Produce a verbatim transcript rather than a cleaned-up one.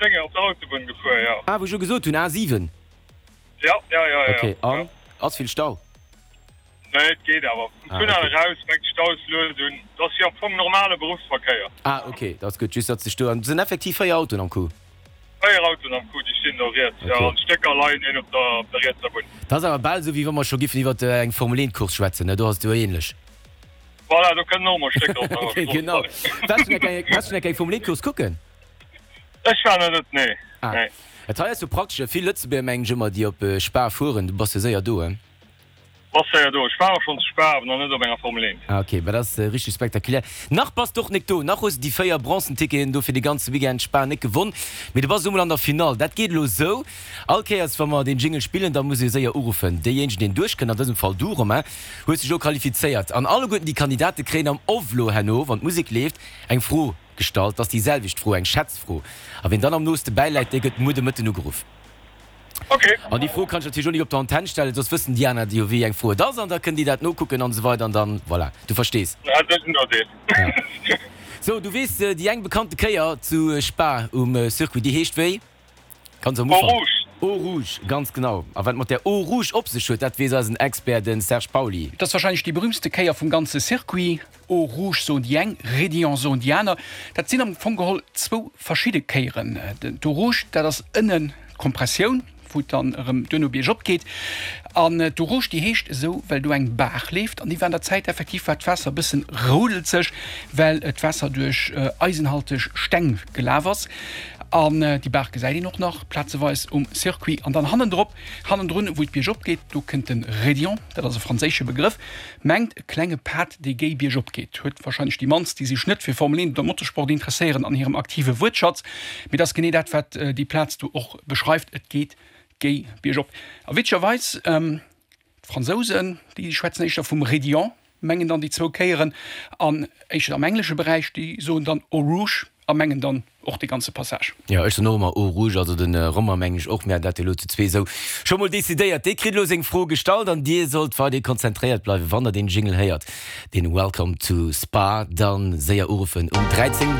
Dénge op der Autobunn gefuer, jo. Ah, wou ech jo gesot hunn, A siwen. Ja, ja, ja, ja. Ok, an? Ass vill Stau? Nee, et geet awer. Vum Tunnel eraus fänkt de Stau lues un. Et ass jo am Fong normale Beruffsverkéier. Ah, ok, dat ass gutt. Just datt sech do, an et sinn effektiv véier Autoen am Coup? Véier Autoen am Coup, déi stinn do riets, jo, an d'Stécker leien een op der, op der rietser Bunn. Dat ass awer bal esou, wéi wa mer scho giffen iwwer eng Formel eent Course schwätzen, ne? Do ass et jo ähnlech. Voilà, do kënnen och mol Stécker op der Strooss Genau. leien. Waars du eng, waars du eng Kéier eng Formel eent Course kucken? Ech war nach net, nee, Ah, nee. et hei ass jo praktesch, vill Lëtzebuerger mengen ech ëmmer, déi op Spa fueren, du bass jo séier do, hein? Bass séier do. Ech war och schonn zu Spa, awer nach net op enger Formel eent. Ah ok, bah dat ass richteg spektakulär. Nach bass de och nek do, nach hues de déi véier bronzen Ticketen do fir de ganze Weekend Spa nek gewonn, mee du bass elo mol an der Finall. Dat geet elo sou, all Kéiers wa mer deen Jingle spillen, da muss ee séier uruffen. Deejéinegen deen duerchkënnt, an dësem Fall du Romain, hues dech elo qualifizéiert. An alleguerten déi Kandidate kréien am Off elo herno, wann d'Musek leeft, eng Fro gestallt. Dat ass déi selwecht Fro, eng Schätzfro. A wien dann am nooste bäiläit, dee gëtt muer de Mëtten ugeruff. Ok. An déi Fro kann ech natierlech och nik op der Antenn stellen, soss wëssen déi aner jo wéi eng Fro et ass an da kënnen déi dat nokucken an esou weider an dann, voilà, du verstees. Ja, dat ass en Nodeel. Ja. Sou, du weess, déi eng bekannte Kéier zu Spa um Circuit, déi heescht wéi? Ganz am Eau Ufank. Rouge. Eau Rouge, ganz genau. A wat et mat där Eau Rouge op sech huet, dat weess eisen Expert, de Serge Pauly. Et ass warscheinlech déi berüümtste Kéier vum ganze Circuit. Eau Rouge soen déi eng, Raidillon soen déi aner. Dat sinn am Fong geholl zwou verschidde Kéieren. D'Eau Rouge, dat ass ënnen d'Kompressioun, wou et dann erëm duerno biergop geet. An d'Eau Rouge, déi heescht esou, well do eng Baach leeft. An déi war an der Zäit effektiv, war d'Waasser e bëssen roudelzeg, well d'Waasser duerch eisenhalteg Steng gelaf ass. An déi Baach gesäit een och nach plazeweis um Circuit. An dann hannendrop, hannendrun, wou et biergop geet, do kënnt de Raidillon, dat ass e franséische Begrëff, mengt e klenge Pad, dee géi biergop geet. Huet warscheinlech déi mannst, déi sech net fir Formel eent oder Motorsport interesséieren, an hirem aktive Wuertschatz. Mee dat ass genee dat, wat déi Plaz do och beschreift, et geet géi biergop. A witzegerweis, d'Fransousen, déi schwätzen éischter vum Raidillon, mengen dann déi zwou Kéieren, an éischter am englesche Beräich, déi soen dann Eau Rouge a mengen dann och dee ganze Passage. Jo, ech soen och ëmmer Eau Rouge, also de Romain mengen ech och. Mir haten dat jo elo zu zwee esou scho mol decidéiert. Dee kritt elo seng Fro gestallt an dir sollt weiderhi konzentréiert bleiwen. Wann der deen Jingle héiert, deen Welcome to Spa, dann séier uruffen um dräizéng.